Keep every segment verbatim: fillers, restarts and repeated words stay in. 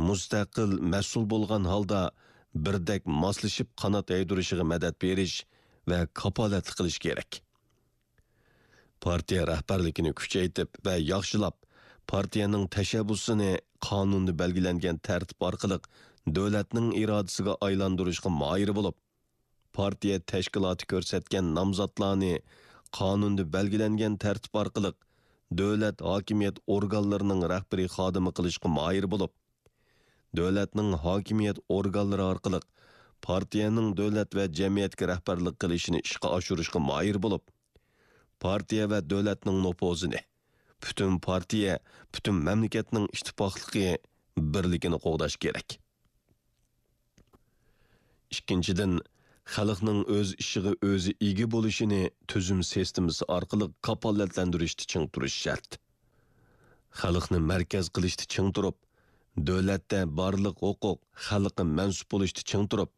مۇستەقىل، مەسئۇل بولغان ھالدا بىردەك ماسلىشىپ قانات يايدۇرۇشىغا مەدەت بېرىش ۋە كاپالەتلىك قىلىش كېرەك. پارتىيە رەھبەرلىكىنى كۈچەيتىپ ۋە ياخشىلاپ، پارتىيەنىڭ تەشەببۇسىنى قانۇندا بەلگىلەنگەن تەرتىپ ئارقىلىق دۆلەتنىڭ ئىرادىسىگە ئايلاندۇرۇشقا ماھىر بولۇپ، پارتىيە تەشكىلاتى كۆرسەتكەن نامزاتلارنى قانۇندا بەلگىلەنگەن تەرتىپ ئارقىلىق دۆلەت ھاكىمىيەت ئورگانلىرىنىڭ رەھبىرىي خادىمى قىلىشقا ماھىر بولۇپ، دۆلەتنىڭ ھاكىمىيەت ئورگانلىرى ئارقىلىق پارتىيەنىڭ دۆلەت ۋە جەمئىيەتكە رەھبەرلىك قىلىشىنى ئىشقا ئاشۇرۇشقا ماھىر بولۇپ، پارتىيە ۋە دۆلەتنىڭ نوپۇزىنى، پۈتۈن پارتىيە، پۈتۈن مەملىكەتنىڭ ئىتتىپاقلىقى، بىرلىكىنى قوغداش كېرەك. ئىككىنچىدىن، خەلقنىڭ ئۆز ئىشىغا ئۆزى ئىگە بولۇشىنى تۈزۈم سىستېمىسى ئارقىلىق كاپالەتلەندۈرۈشتە چىڭ تۇرۇش شەرت. خەلقنى مەركەز قىلىشتا چىڭ تۇرۇپ، دۆلەتتە بارلىق ھوقۇق خەلققە مەنسۇپ بولۇشتا چىڭ تۇرۇپ،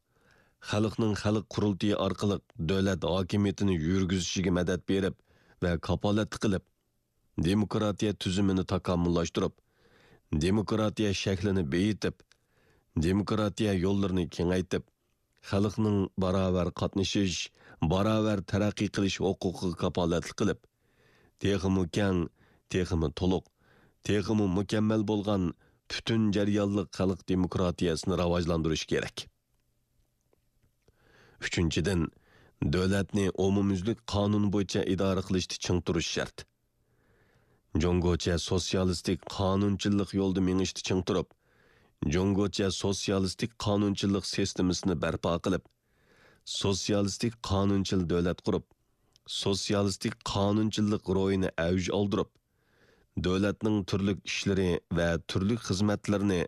خەلقنىڭ خەلق قۇرۇلتىيى ئارقىلىق دۆلەت ھاكىمىيىتىنى يۈرگۈزۈشىگە مەدەت بېرىپ ۋە كاپالەتلىك قىلىپ، دېموكراتىيە تۈزۈمىنى تاكامۇللاشتۇرۇپ، دېموكراتىيە شەكلىنى بېيىتىپ، دېموكراتىيە يوللىرىنى كېڭەيتىپ، خەلقنىڭ باراۋەر قاتنىشىش، باراۋەر تەرەققىي قىلىش ھوقۇقىغا كاپالەتلىك قىلىپ، تېخىمۇ كەڭ، تېخىمۇ تولۇق، تېخىمۇ مۇكەممەل بولغان پۈتۈن جەريانلىق خەلق دېموكراتىيەسىنى راۋاجلاندۇرۇش كېرەك. ئۈچىنچىدىن، دۆلەتنى ئومۇميۈزلۈك قانۇن بويىچە ئىدارە قىلىشتا چىڭ تۇرۇش شەرت. جۇڭگوچە سوتسىيالىستىك قانۇنچىللىق يولىدا مېڭىشتا چىڭ تۇرۇپ، جۇڭگوچە سوتسىيالىستىك قانۇنچىللىق سىستېمىسىنى بەرپا قىلىپ، سوتسىيالىستىك قانۇنچىل دۆلەت قۇرۇپ، سوتسىيالىستىك قانۇنچىللىق روھىنى ئەۋج ئالدۇرۇپ، دۆلەتنىڭ تۈرلۈك ئىشلىرى ۋە تۈرلۈك خىزمەتلىرىنى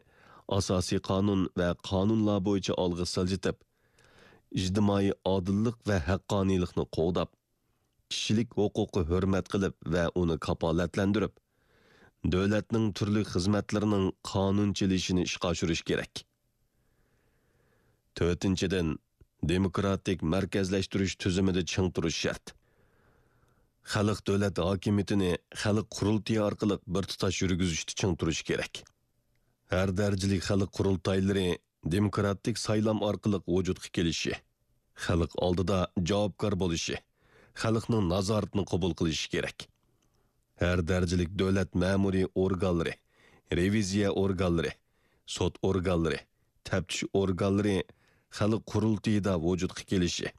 ئاساسىي قانۇن ۋە قانۇنلار بويىچە ئالغا سىلجىتىپ، ئىجتىمائىي ئادىللىق ۋە ھەققانىيلىقنى قوغداپ، كىشىلىك ھوقۇققا ھۆرمەت قىلىپ ۋە ئۇنى كاپالەتلەندۈرۈپ، دۆلەتنىڭ تۈرلۈك خىزمەتلىرىنىڭ قانۇن چېلىشىنى ئىشقا ئاشۇرۇش كېرەك. تۆتىنچىدىن، دېموكراتىك مەركەزلەشتۈرۈش تۈزۈمىدە چىڭ تۇرۇش شەرت. خەلق دۆلەت ھاكىمىيىتىنى خەلق قۇرۇلتىيى ئارقىلىق بىر تۇتاش يۈرگۈزۈشتە چىڭ تۇرۇش كېرەك. ھەر دەرىجىلىك خەلق قۇرۇلتايلىرى دېموكراتىك سايلام ئارقىلىق ۋۇجۇدقا كېلىشى، خەلق ئالدىدا جاۋابكار بولۇشى، خەلقنىڭ نازارىتىنى قوبۇل قىلىشى كېرەك. ھەر دەرىجىلىك دۆلەت مەمۇرىي ئورگانلىرى، رېۋىزىيە ئورگانلىرى، سوت ئورگانلىرى، تەپتىش ئورگانلىرى خەلق قۇرۇلتىيىدا ۋۇجۇدقا كېلىشى،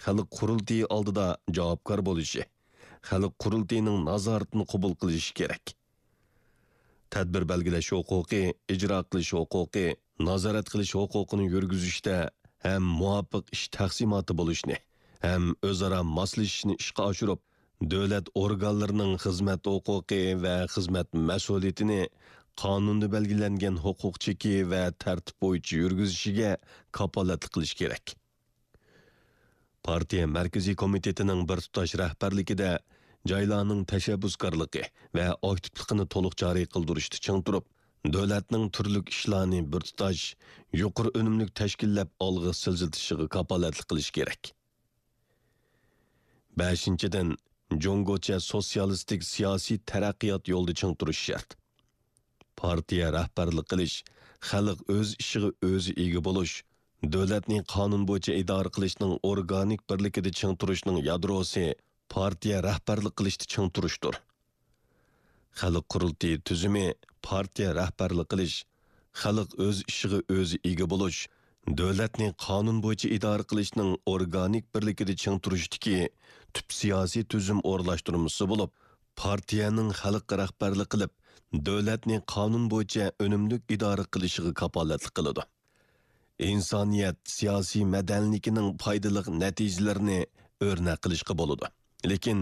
خەلق قۇرۇلتىيى ئالدىدا جاۋابكار بولۇشى، خەلق قۇرۇلتىيىنىڭ نازارىتىنى قوبۇل قىلىشى كېرەك. تەدبىر بەلگىلەش ھوقۇقى، ئىجرا قىلىش ھوقۇقى، نازارەت قىلىش ھوقۇقىنى يۈرگۈزۈشتە ھەم مۇۋاپىق ئىش تەقسىماتى بولۇشنى، ھەم ئۆزئارا ماسلىشىشنى ئىشقا ئاشۇرۇپ، دۆلەت ئورگانلىرىنىڭ خىزمەت ھوقۇقى ۋە خىزمەت مەسئۇلىيىتىنى قانۇندا بەلگىلەنگەن ھوقۇق چېكى ۋە تەرتىپ بويىچە يۈرگۈزۈشىگە كاپالەتلىك قىلىش كېرەك. پارتىيە مەركىزىي كومىتېتىنىڭ بىر تۇتاش رەھبەرلىكىدە جايلارنىڭ تەشەببۇسكارلىقى ۋە ئاكتىپلىقىنى تولۇق جارى قىلدۇرۇشتا چىڭ تۇرۇپ، دۆلەتنىڭ تۈرلۈك ئىشلارنى بىر تۇتاش، يۇقىرى ئۈنۈملۈك تەشكىللەپ ئالغا سىلجىتىشىغا كاپالەتلىك قىلىش كېرەك. بەشىنچىدىن، جۇڭگوچە سوتسىيالىستىك سىياسىي تەرەققىيات يولىدا چىڭ تۇرۇش شەرت. پارتىيە رەھبەرلىك قىلىش، خەلق ئۆز ئىشىغا ئۆزى ئىگە بولۇش، دۆلەتنى قانۇن بويىچە ئىدارە قىلىشنىڭ ئورگانىك بىرلىكىدە چىڭ تۇرۇشنىڭ يادروسى پارتىيە رەھبەرلىك قىلىشتا چىڭ تۇرۇشتۇر. خەلق قۇرۇلتىيى تۈزۈمى پارتىيە رەھبەرلىك قىلىش، خەلق ئۆز ئىشىغا ئۆزى ئىگە بولۇش، دۆلەتنى قانۇن بويىچە ئىدارە قىلىشنىڭ ئورگانىك بىرلىكىدە چىڭ تۇرۇشتىكى تۈپ سىياسىي تۈزۈم ئورۇنلاشتۇرمىسى بولۇپ، پارتىيەنىڭ خەلققە رەھبەرلىك قىلىپ، دۆلەتنى قانۇن بويىچە ئۈنۈملۈك ئىدارە قىلىشىغا كاپالەتلىك قىلىدۇ. ئىنسانىيەت سىياسىي مەدەنىيلىكىنىڭ پايدىلىق نەتىجىلىرىنى ئۆرنەك قىلىشقا بولىدۇ. لېكىن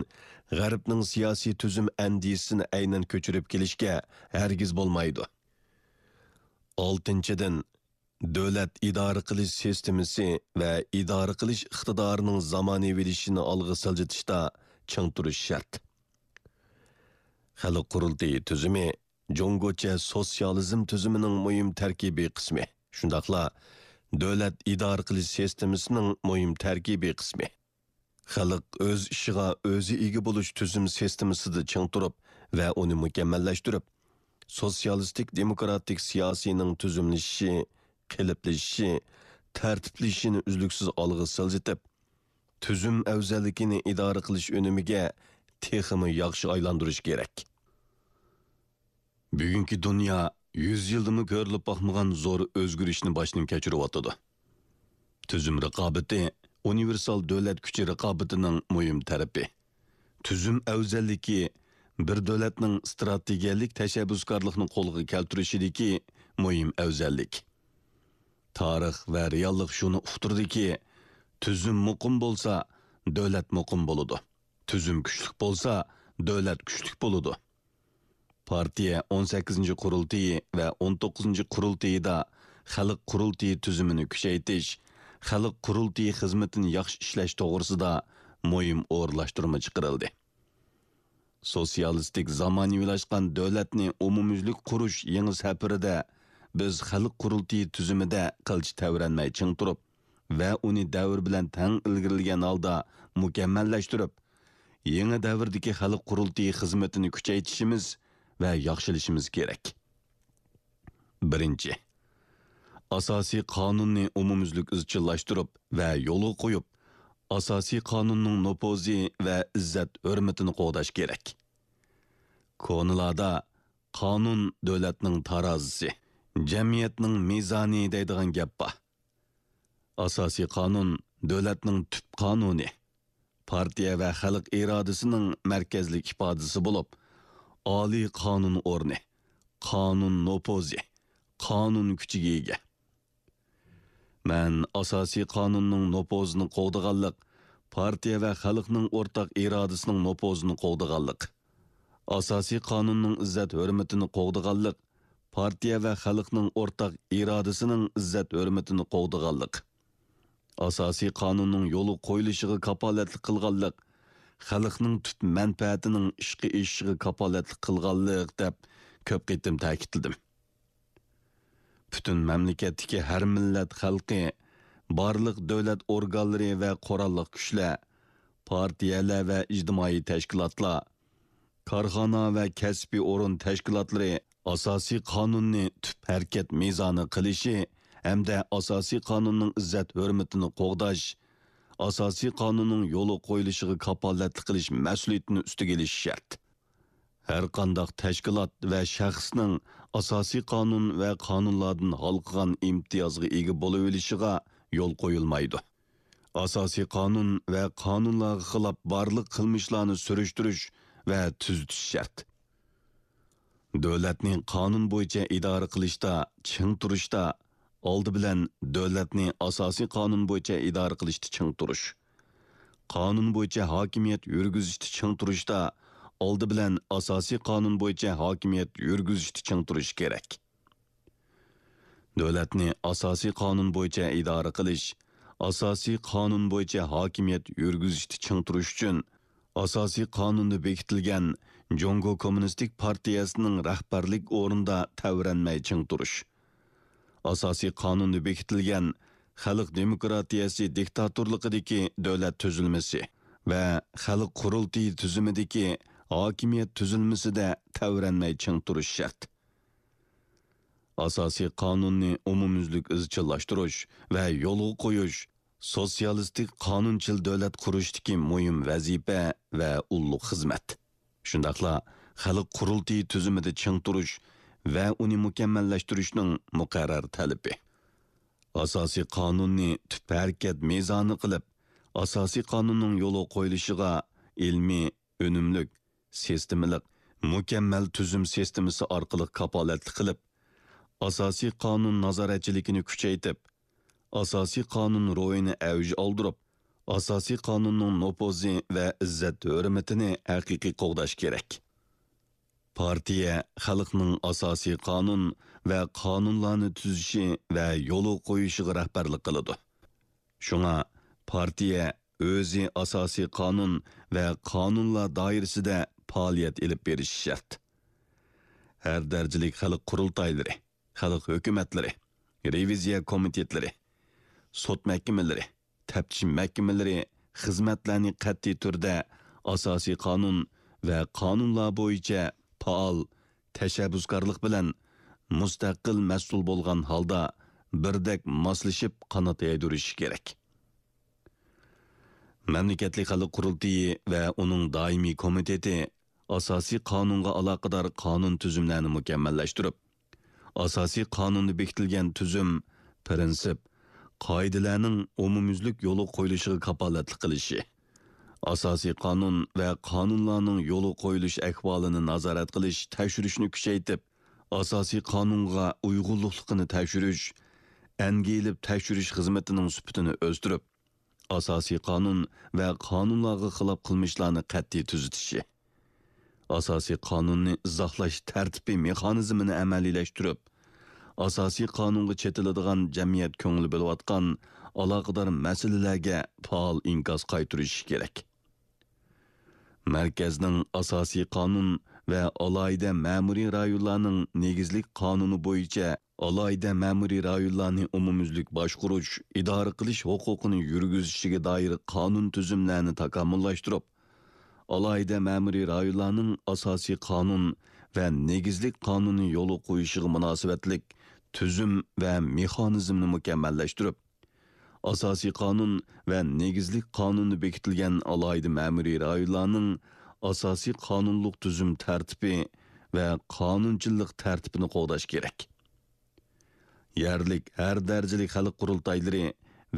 غەربنىڭ سىياسىي تۈزۈم ئەندىزىسىنى ئەينەن كۆچۈرۈپ كېلىشكە ھەرگىز بولمايدۇ. ئالتىنچىدىن، دۆلەت ئىدارە قىلىش سىستېمىسى ۋە ئىدارە قىلىش ئىقتىدارىنىڭ زامانىۋىلىشىشىنى ئالغا سىلجىتىشتا چىڭ تۇرۇش شەرت. خەلق قۇرۇلتىيى تۈزۈمى جۇڭگوچە سوتسىيالىزم تۈزۈمىنىڭ مۇھىم تەركىبىي قىسمى، شۇنداقلا دۆلەت ئىدارە قىلىش سىستېمىسىنىڭ مۇھىم تەركىبىي قىسمى. خەلق ئۆز ئىشىغا ئۆزى ئىگە بولۇش تۈزۈم سىستېمىسىدا چىڭ تۇرۇپ ۋە ئۇنى مۇكەممەللەشتۈرۈپ، سوتسىيالىستىك دېموكراتىك سىياسىينىڭ تۈزۈملىشىشى، قېلىپلىشىشى، تەرتىپلىشىشىنى ئۈزلۈكسىز ئالغا سىلجىتىپ، تۈزۈم ئەۋزەللىكىنى ئىدارە قىلىش ئۈنۈمىگە تېخىمۇ ياخشى ئايلاندۇرۇش كېرەك. بۈگۈنكى دۇنيا يۈز يىلدىمۇ كۆرۈلۈپ باقمىغان زور ئۆزگىرىشنى باشتىن كەچۈرۈۋاتىدۇ. تۈزۈم رىقابىتى ئۇنىۋېرسال دۆلەت كۈچى رىقابىتىنىڭ مۇھىم تەرىپى. تۈزۈم ئەۋزەللىكى بىر دۆلەتنىڭ ئىستراتېگىيەلىك تەشەببۇسكارلىقنى قولغا كەلتۈرۈشىدىكى مۇھىم ئەۋزەللىك. تارىخ ۋە رېئاللىق شۇنى ئۇقتۇردىكى، تۈزۈم مۇقىم بولسا، دۆلەت مۇقىم بولىدۇ. تۈزۈم كۈچلۈك بولسا، دۆلەت كۈچلۈك بولىدۇ. پارتىيە ئون سەككىزىنچى قۇرۇلتىيى ۋە ئون توققۇزىنچى قۇرۇلتىيىدا خەلق قۇرۇلتىيى تۈزۈمىنى كۈچەيتىش، خەلق قۇرۇلتىيى خىزمىتىنى ياخشى ئىشلەش توغرىسىدا مۇھىم ئورۇنلاشتۇرما چىقىرىلدى. سوتسىيالىستىك زامانىۋىلاشقان دۆلەتنى ئومۇميۈزلۈك قۇرۇش يېڭى سەپىرىدە بىز خەلق قۇرۇلتىيى تۈزۈمىدە قىلچە تەۋرەنمەي چىڭ تۇرۇپ ۋە ئۇنى دەۋر بىلەن تەڭ ئىلگىرىلىگەن ھالدا مۇكەممەللەشتۈرۈپ، يېڭى دەۋردىكى خەلق قۇرۇلتىيى خىزمىتىنى كۈچەيتىشىمىز ۋە ياخشىلىشىمىز كېرەك. بىرىنچى، ئاساسىي قانۇننى ئومۇميۈزلۈك ئىزچىللاشتۇرۇپ ۋە يولغا قويۇپ، ئاساسىي قانۇننىڭ نوپۇزى ۋە ئىززەت-ھۆرمىتىنى قوغداش كېرەك. كونىلاردا «قانۇن دۆلەتنىڭ تارازىسى، جەمئىيەتنىڭ مىزانى» دەيدىغان گەپ بار. ئاساسىي قانۇن دۆلەتنىڭ تۈپ قانۇنى، پارتىيە ۋە خەلق ئىرادىسىنىڭ مەركەزلىك ئىپادىسى بولۇپ، ئالىي قانۇن ئورنى، قانۇن نوپۇزى، قانۇن كۈچىگە ئىگە. مەن ئاساسىي قانۇننىڭ نوپۇزىنى قوغدىغانلىق، پارتىيە ۋە خەلقنىڭ ئورتاق ئىرادىسىنىڭ نوپۇزىنى قوغدىغانلىق، ئاساسىي قانۇننىڭ ئىززەت-ھۆرمىتىنى قوغدىغانلىق، پارتىيە ۋە خەلقنىڭ ئورتاق ئىرادىسىنىڭ ئىززەت-ھۆرمىتىنى قوغدىغانلىق، ئاساسىي قانۇننىڭ يولغا قويۇلۇشىغا كاپالەتلىك قىلغانلىق، خەلقنىڭ تۈپ مەنپەئەتىنىڭ ئىشقا ئېشىشىغا كاپالەتلىك قىلغانلىق دەپ كۆپ قېتىم تەكىتلىدىم. پۈتۈن مەملىكەتتىكى ھەر مىللەت خەلقى، بارلىق دۆلەت ئورگانلىرى ۋە قوراللىق كۈچلەر، پارتىيەلەر ۋە ئىجتىمائىي تەشكىلاتلار، كارخانا ۋە كەسپىي ئورۇن تەشكىلاتلىرى ئاساسىي قانۇننى تۈپ ھەرىكەت مىزانى قىلىشى ھەمدە ئاساسىي قانۇننىڭ ئىززەت-ھۆرمىتىنى قوغداش، ئاساسىي قانۇننىڭ يولغا قويۇلۇشىغا كاپالەتلىك قىلىش مەسئۇلىيىتىنى ئۈستىگە ئېلىشى شەرت. ھەرقانداق تەشكىلات ۋە شەخسنىڭ ئاساسىي قانۇن ۋە قانۇنلاردىن ھالقىغان ئىمتىيازغا ئىگە بولۇۋېلىشىغا يول قويۇلمايدۇ. ئاساسىي قانۇن ۋە قانۇنلارغا خىلاپ بارلىق قىلمىشلارنى سۈرۈشتۈرۈش ۋە تۈزىتىش شەرت. دۆلەتنى قانۇن بويىچە ئىدارە قىلىشتا چىڭ تۇرۇشتا، ئالدى بىلەن دۆلەتنى ئاساسىي قانۇن بويىچە ئىدارە قىلىشتا چىڭ تۇرۇش. قانۇن بويىچە ھاكىمىيەت يۈرگۈزۈشتە چىڭ تۇرۇشتا، ئالدى بىلەن ئاساسىي قانۇن بويىچە ھاكىمىيەت يۈرگۈزۈشتە چىڭ تۇرۇش كېرەك. دۆلەتنى ئاساسىي قانۇن بويىچە ئىدارە قىلىش، ئاساسىي قانۇن بويىچە ھاكىمىيەت يۈرگۈزۈشتە چىڭ تۇرۇش ئۈچۈن، ئاساسىي قانۇندا بېكىتىلگەن جۇڭگو كوممۇنىستىك پارتىيەسىنىڭ رەھبەرلىك ئورنىدا تەۋرەنمەي چىڭ تۇرۇش. ئاساسىي قانۇندا بېكىتىلگەن خەلق دېموكراتىيەسى دىكتاتورلۇقىدىكى دۆلەت تۈزۈلمىسى ۋە خەلق قۇرۇلتىيى تۈزۈمىدىكى ھاكىمىيەت تۈزۈلمىسىدە تەۋرەنمەي چىڭ تۇرۇش شەرت. ئاساسىي قانۇننى ئومۇميۈزلۈك ئىزچىللاشتۇرۇش ۋە يولغا قويۇش سوتسىيالىستىك قانۇنچىل دۆلەت قۇرۇشتىكى مۇھىم ۋەزىپە ۋە ئۇللۇق خىزمەت. شۇنداقلا خەلق قۇرۇلتىيى تۈزۈمىدە چىڭ تۇرۇش ۋە ئۇنى مۇكەممەللەشتۈرۈشنىڭ مۇقەررەر تەلىپى. ئاساسىي قانۇننى تۈپ ھەرىكەت مىزانى قىلىپ، ئاساسىي قانۇننىڭ يولغا قويۇلۇشىغا ئىلمىي، ئۈنۈملۈك، سىستېمىلىق، مۇكەممەل تۈزۈم سىستېمىسى ئارقىلىق كاپالەتلىك قىلىپ، ئاساسىي قانۇن نازارەتچىلىكىنى كۈچەيتىپ، ئاساسىي قانۇن روھىنى ئەۋج ئالدۇرۇپ، ئاساسىي قانۇننىڭ نوپۇزى ۋە ئىززەت-ھۆرمىتىنى ھەقىقىي قوغداش كېرەك. پارتىيە خەلقنىڭ ئاساسىي قانۇن ۋە قانۇنلارنى تۈزۈشى ۋە يولغا قويۇشىغا رەھبەرلىك قىلىدۇ. شۇڭا پارتىيە ئۆزى ئاساسىي قانۇن ۋە قانۇنلار دائىرىسىدە پائالىيەت ئېلىپ بېرىشى شەرت. ھەر دەرىجىلىك خەلق قۇرۇلتايلىرى، خەلق ھۆكۈمەتلىرى، رېۋىزىيە كومىتېتلىرى، سوت مەھكىمىلىرى، تەپتىش مەھكىمىلىرى خىزمەتلەرنى قەتئىي تۈردە ئاساسىي قانۇن ۋە قانۇنلار بويىچە پائال، تەشەببۇسكارلىق بىلەن مۇستەقىل مەسئۇل بولغان ھالدا بىردەك ماسلىشىپ قانات يايدۇرۇشى كېرەك. مەملىكەتلىك خەلق قۇرۇلتىيى ۋە ئۇنىڭ دائىمىي كومىتېتى ئاساسىي قانۇنغا ئالاقىدار قانۇن تۈزۈملەرنى مۇكەممەللەشتۈرۈپ، ئاساسىي قانۇندا بېكىتىلگەن تۈزۈم، پىرىنسىپ، قائىدىلەرنىڭ ئومۇميۈزلۈك يولغا قويۇلۇشىغا كاپالەتلىك قىلىشى، ئاساسىي قانۇن ۋە قانۇنلارنىڭ يولغا قويۇلۇش ئەھۋالىنى نازارەت قىلىش، تەكشۈرۈشنى كۈچەيتىپ، ئاساسىي قانۇنغا ئۇيغۇنلۇقلۇقىنى تەكشۈرۈش، ئەنگە ئېلىپ تەكشۈرۈش خىزمىتىنىڭ سۈپىتىنى ئۆستۈرۈپ، ئاساسىي قانۇن ۋە قانۇنلارغا خىلاپ قىلمىشلارنى قەتئىي تۈزىتىشى، ئاساسىي قانۇننى ئىزاھلاش تەرتىپى مېخانىزمىنى ئەمەلىيلەشتۈرۈپ، ئاساسىي قانۇنغا چېتىلىدىغان جەمئىيەت كۆڭۈل بۆلۈۋاتقان ئالاقىدار مەسىلىلەرگە پائال ئىنكاس قايتۇرۇشى كېرەك. مەركەزنىڭ ئاساسىي قانۇن ۋە ئالاھىدە مەمۇرىي رايونلارنىڭ نېگىزلىك قانۇنى بويىچە ئالاھىدە مەمۇرىي رايونلارنى ئومۇميۈزلۈك باشقۇرۇش، ئىدارە قىلىش ھوقۇقىنى يۈرگۈزۈشىگە دائىر قانۇن تۈزۈملەرنى تاكامۇللاشتۇرۇپ، ئالاھىدە مەمۇرىي رايونلارنىڭ ئاساسىي قانۇن ۋە نېگىزلىك قانۇننى يولغا قويۇشىغا مۇناسىۋەتلىك تۈزۈم ۋە مېخانىزمنى مۇكەممەللەشتۈرۈپ، ئاساسىي قانۇن ۋە نېگىزلىك قانۇندا بېكىتىلگەن ئالاھىدە مەمۇرىي رايونلارنىڭ ئاساسىي قانۇنلۇق تۈزۈم تەرتىپى ۋە قانۇنچىللىق تەرتىپىنى قوغداش كېرەك. يەرلىك ھەر دەرىجىلىك خەلق قۇرۇلتايلىرى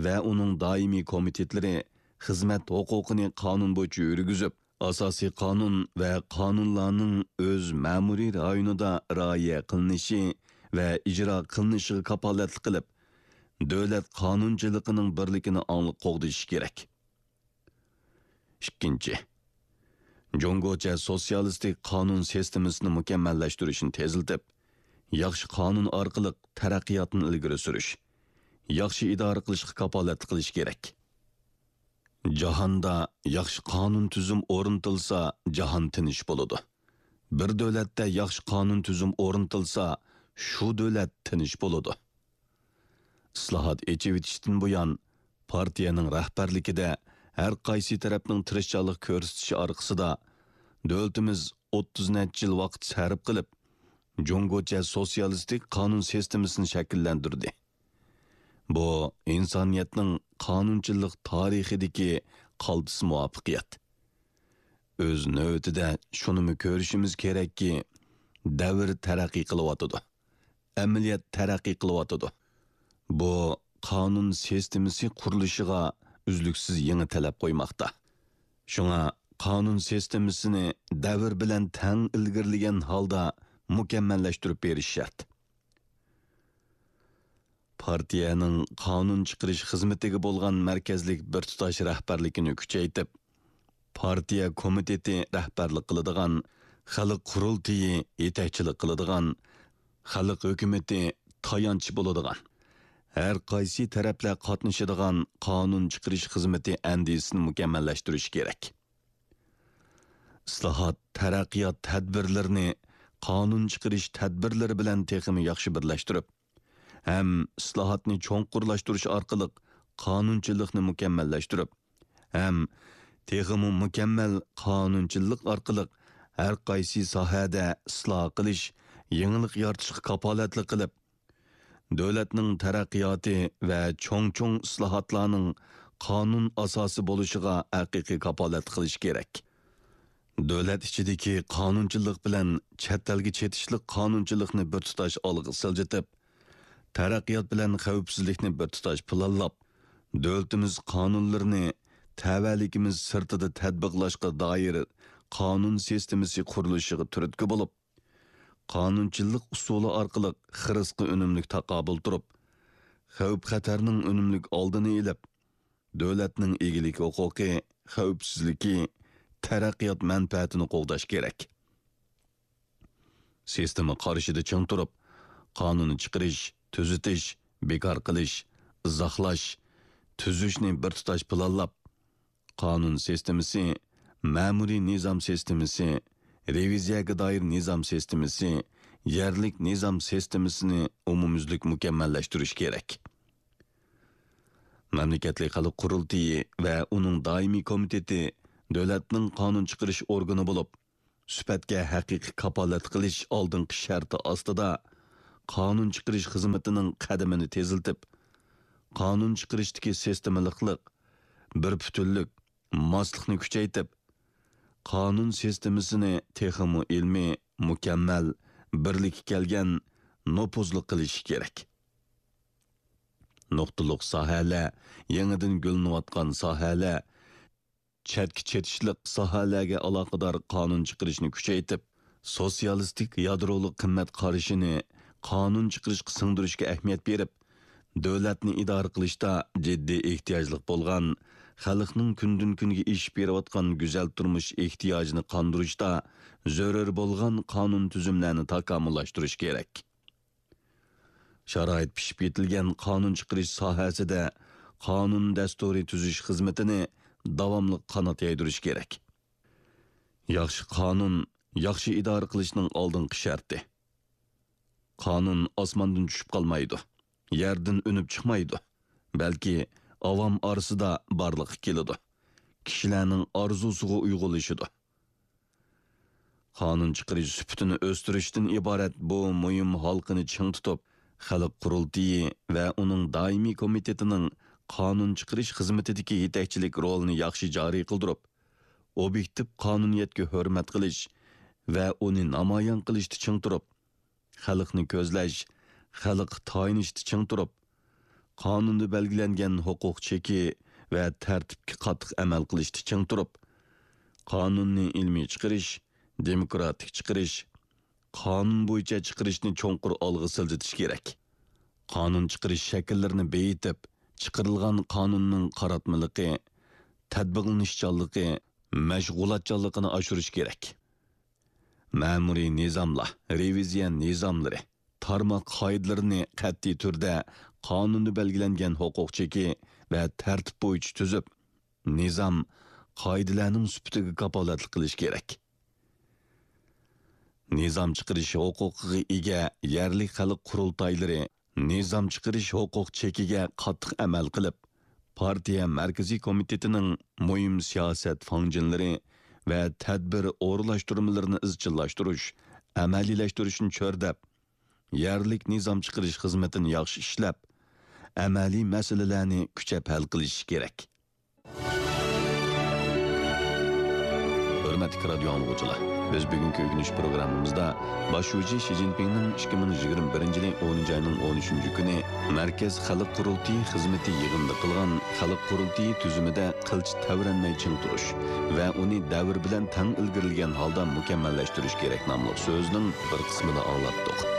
ۋە ئۇنىڭ دائىمىي كومىتېتلىرى خىزمەت ھوقۇقىنى قانۇن بويىچە يۈرگۈزۈپ، ئاساسىي قانۇن ۋە قانۇنلارنىڭ ئۆز مەمۇرىي رايونىدا رىئايە قىلىنىشى ۋە ئىجرا قىلىنىشىغا كاپالەتلىك قىلىپ، دۆلەت قانۇنچىلىقىنىڭ بىرلىكىنى ئاڭلىق قوغدىشى كېرەك. ئىككىنچى، جۇڭگوچە سوتسىيالىستىك قانۇن سىستېمىسىنى مۇكەممەللەشتۈرۈشنى تېزلىتىپ، ياخشى قانۇن ئارقىلىق تەرەققىياتنى ئىلگىرى سۈرۈش، ياخشى ئىدارە قىلىشقا كاپالەتلىك قىلىش كېرەك. جاھاندا ياخشى قانۇن تۈزۈم ئورنىتىلسا، جاھان تىنچ بولىدۇ. بىر دۆلەتتە ياخشى قانۇن تۈزۈم ئورنىتىلسا، شۇ دۆلەت تىنچ بولىدۇ. ئىسلاھات ئېچىۋېتىشتىن بۇيان، پارتىيەنىڭ رەھبەرلىكىدە ھەر قايسى تەرەپنىڭ تىرىشچانلىق كۆرسىتىشى ئارقىسىدا، دۆلىتىمىز ئوتتۇز نەچچە يىل ۋاقىت سەرپ قىلىپ، جۇڭگوچە سوتسىيالىستىك قانۇن سىستېمىسىنى شەكىللەندۈردى. بۇ ئىنسانىيەتنىڭ قانۇنچىلىق تارىخىدىكى قالتىس مۇۋەپپەقىيەت. ئۆز نۆۋىتىدە شۇنىمۇ كۆرۈشىمىز كېرەككى، دەۋر تەرەققىي قىلىۋاتىدۇ. ئەمەلىيەت تەرەققىي قىلىۋاتىدۇ. بۇ قانۇن سىستېمىسى قۇرۇلۇشىغا ئۈزلۈكسىز يېڭى تەلەپ قويماقتا. شۇڭا قانۇن سىستېمىسىنى دەۋر بىلەن تەڭ ئىلگىرىلىگەن ھالدا مۇكەممەللەشتۈرۈپ بېرىش شەرت. پارتىيەنىڭ قانۇن چىقىرىش خىزمىتىگە بولغان مەركەزلىك بىر تۇتاش رەھبەرلىكىنى كۈچەيتىپ، پارتىيە كومىتېتى رەھبەرلىك قىلىدىغان، خەلق قۇرۇلتىيى يېتەكچىلىك قىلىدىغان، خەلق ھۆكۈمىتى تايانچ بولىدىغان، ھەر قايسى تەرەپلەر قاتنىشىدىغان قانۇن چىقىرىش خىزمىتى ئەندىزىسىنى مۇكەممەللەشتۈرۈش كېرەك. ئىسلاھات، تەرەققىيات تەدبىرلىرىنى قانۇن چىقىرىش تەدبىرلىرى بىلەن تېخىمۇ ياخشى بىرلەشتۈرۈپ، ھەم ئىسلاھاتنى چوڭقۇرلاشتۇرۇش ئارقىلىق قانۇنچىلىقنى مۇكەممەللەشتۈرۈپ، ھەم تېخىمۇ مۇكەممەل قانۇنچىلىق ئارقىلىق ھەر قايسى ساھەدە ئىسلاھ قىلىش، يېڭىلىق يارىتىشقا كاپالەتلىك قىلىپ، دۆلەتنىڭ تەرەققىياتى ۋە چوڭ-چوڭ ئىسلاھاتلارنىڭ قانۇن ئاساسى بولۇشىغا ھەقىقىي كاپالەتلىك قىلىش كېرەك. دۆلەت ئىچىدىكى قانۇنچىلىق بىلەن چەت ئەلگە چېتىشلىق قانۇنچىلىقنى بىر تۇتاش ئالغا سىلجىتىپ، تەرەققىيات بىلەن خەۋپسىزلىكنى بىر تۇتاش پىلانلاپ، دۆلىتىمىز قانۇنلىرىنى تەۋەلىكىمىز سىرتىدا تەتبىقلاشقا دائىر قانۇن سىستېمىسى قۇرۇلۇشىغا تۈرتكە بولۇپ، قانۇنچىلىق ئۇسۇلى ئارقىلىق خىرىسقا ئۈنۈملۈك تاقابىل تۇرۇپ، خەۋپ-خەتەرنىڭ ئۈنۈملۈك ئالدىنى ئېلىپ، دۆلەتنىڭ ئىگىلىك ھوقۇقى، خەۋپسىزلىكى، تەرەققىيات مەنپەئەتىنى قوغداش كېرەك. سىستېما قارىشىدا چىڭ تۇرۇپ، قانۇن چىقىرىش، تۈزىتىش، بىكار قىلىش، ئىزاھلاش، تۈزۈشنى بىر تۇتاش پىلانلاپ، قانۇن سىستېمىسى، مەمۇرىي نىزام سىستېمىسى، رېۋىزىيەگە دائىر نىزام سىستېمىسى، يەرلىك نىزام سىستېمىسىنى ئومۇميۈزلۈك مۇكەممەللەشتۈرۈش كېرەك. مەملىكەتلىك خەلق قۇرۇلتىيى ۋە ئۇنىڭ دائىمىي كومىتېتى دۆلەتنىڭ قانۇن چىقىرىش ئورگىنى بولۇپ، سۈپەتكە ھەقىقىي كاپالەتلىك قىلىش ئالدىنقى شەرتى ئاستىدا، قانۇن چىقىرىش خىزمىتىنىڭ قەدىمىنى تېزلىتىپ، قانۇن چىقىرىشتىكى سىستېمىلىقلىق، بىر پۈتۈنلۈك، ماسلىقنى كۈچەيتىپ، قانۇن سىستېمىسىنى تېخىمۇ ئىلمىي، مۇكەممەل، بىرلىككە كەلگەن، نوپۇزلۇق قىلىشى كېرەك. نۇقتىلىق ساھەلەر، يېڭىدىن گۈللىنىۋاتقان ساھەلەر، چەتكە چېتىشلىق ساھەلەرگە ئالاقىدار قانۇن چىقىرىشنى كۈچەيتىپ، سوتسىيالىستىك يادرولۇق قىممەت قارىشىنى قانۇن چىقىرىشقا سىڭدۈرۈشكە ئەھمىيەت بېرىپ، دۆلەتنى ئىدارە قىلىشتا جىددىي ئېھتىياجلىق بولغان، خەلقنىڭ كۈندىن-كۈنگە ئېشىپ بېرىۋاتقان گۈزەل تۇرمۇش ئېھتىياجىنى قاندۇرۇشتا زۆرۈر بولغان قانۇن تۈزۈملەرنى تاكامۇللاشتۇرۇش كېرەك. شارائىت پىشىپ يېتىلگەن قانۇن چىقىرىش ساھەسىدە قانۇن دەستۇرى تۈزۈش خىزمىتىنى داۋاملىق قانات يايدۇرۇش كېرەك. ياخشى قانۇن ياخشى ئىدارە قىلىشنىڭ ئالدىنقى شەرتى. قانۇن ئاسماندىن چۈشۈپ قالمايدۇ، يەردىن ئۈنۈپ چىقمايدۇ، بەلكى ئاۋام ئارىسىدا بارلىققا كېلىدۇ، كىشىلەرنىڭ ئارزۇسىغا ئۇيغۇنلىشىدۇ. قانۇن چىقىرىش سۈپىتىنى ئۆستۈرۈشتىن ئىبارەت بۇ مۇھىم ھالقىنى چىڭ تۇتۇپ، خەلق قۇرۇلتىيى ۋە ئۇنىڭ دائىمىي كومىتېتىنىڭ قانۇن چىقىرىش خىزمىتىدىكى يېتەكچىلىك رولىنى ياخشى جارى قىلدۇرۇپ، ئوبيېكتىپ قانۇنىيەتكە ھۆرمەت قىلىش ۋە ئۇنى نامايان قىلىشتا چىڭ تۇرۇپ، خەلقنى كۆزلەش، خەلققە تايىنىشتا چىڭ تۇرۇپ، قانۇندا بەلگىلەنگەن ھوقۇق چېكى ۋە تەرتىپكە قاتتىق ئەمەل قىلىشتا چىڭ تۇرۇپ، قانۇننى ئىلمىي چىقىرىش، دېموكراتىك چىقىرىش، قانۇن بويىچە چىقىرىشنى چوڭقۇر ئالغا سىلجىتىش كېرەك. قانۇن چىقىرىش شەكىللىرىنى بېيىتىپ، چىقىرىلغان قانۇننىڭ قاراتمىلىقى، تەتبىقلىنىشچانلىقى، مەشغۇلاتچانلىقىنى ئاشۇرۇش كېرەك. مەمۇرىي نىزاملار، رېۋىزىيە نىزاملىرى، تارماق قائىدىلىرىنى قەتئىي تۈردە قانۇندا بەلگىلەنگەن ھوقۇق چېكى ۋە تەرتىپ بويىچە تۈزۈپ، نىزام، قائىدىلەرنىڭ سۈپىتىگە كاپالەتلىك قىلىش كېرەك. نىزام چىقىرىش ھوقۇقىغا ئىگە يەرلىك خەلق قۇرۇلتايلىرى نىزام چىقىرىش ھوقۇق چېكىگە قاتتىق ئەمەل قىلىپ، پارتىيە مەركىزىي كومىتېتىنىڭ مۇھىم سىياسەت فاڭجېنلىرى ۋە تەدبىر ئورۇنلاشتۇرمىلىرىنى ئىزچىللاشتۇرۇش، ئەمەلىيلەشتۈرۈشنى چۆرىدەپ، يەرلىك نىزام چىقىرىش خىزمىتىنى ياخشى ئىشلەپ، ئەمەلىي مەسىلىلەرنى كۈچەپ ھەل قىلىشى كېرەك. ھۆرمەتلىك رادىيو ئاڭلىغۇچىلار، بىز بۈگۈنكى ئۆگىنىش پروگراممىمىزدا باش شۇجى شى جىنپىڭنىڭ ئىككى مىڭ يىگىرمە بىرىنچى يىلى ئونىنچى ئاينىڭ ئون ئۈچىنچى كۈنى مەركەز خەلق قۇرۇلتىيى خىزمىتى يىغىنىدا قىلغان خەلق قۇرۇلتىيى تۈزۈمىدە قىلچە تەۋرەنمەي چىڭ تۇرۇش ۋە ئۇنى دەۋر بىلەن تەڭ ئىلگىرىلىگەن ھالدا مۇكەممەللەشتۈرۈش كېرەك ناملىق سۆزنىڭ بىر قىسمىنى ئاڭلاتتۇق.